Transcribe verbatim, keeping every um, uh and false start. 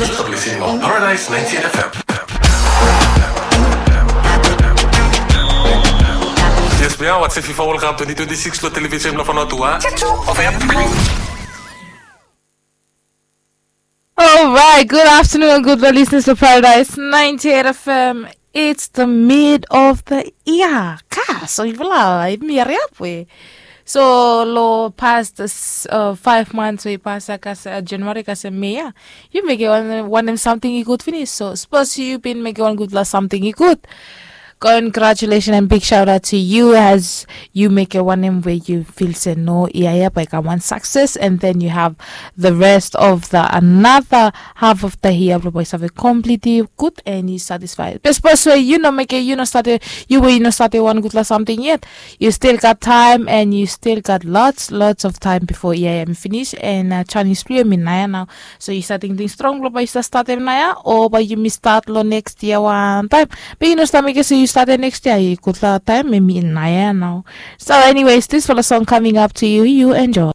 Yu stap listening long Paradise ninety-eight F M. Yes, we are watching FIFA World Cup twenty twenty-six lo television blo Vanuatu. Of April. Alright, good afternoon, good listeners to Paradise ninety-eight F M. It's the mid of the year. Ka, so yufala, mi hariap we. So lo past uh, five months we past uh, kas, uh, January kasem May ya. Yu mekem wan, wanem samting i gud finis. So sapos yu bin mekem wan gudfala samting i gud. Congratulations and big shout out to you as yu mekem wanem we yu fil se no, ia ia bae i kam wan success, and then you have the rest of the another half of the year blo bae i save completely good and yu satisfied. Be sapos we yu no mekem, yu no start, yu we yu no start wan gudfala samting yet, yu still gat time and yu still gat lots lots of time before ia ia mi finis, and uh, Chinese blo yu mi naia nao. So yu stap tingting strong blo bae yu stap statem naia, o bae yumi stat lo next year wantaem. Be yu no stap mekem se yu statem next year, i gudfala taem, hemi naia nao. So anyways, this fala song coming up to you, you enjoy.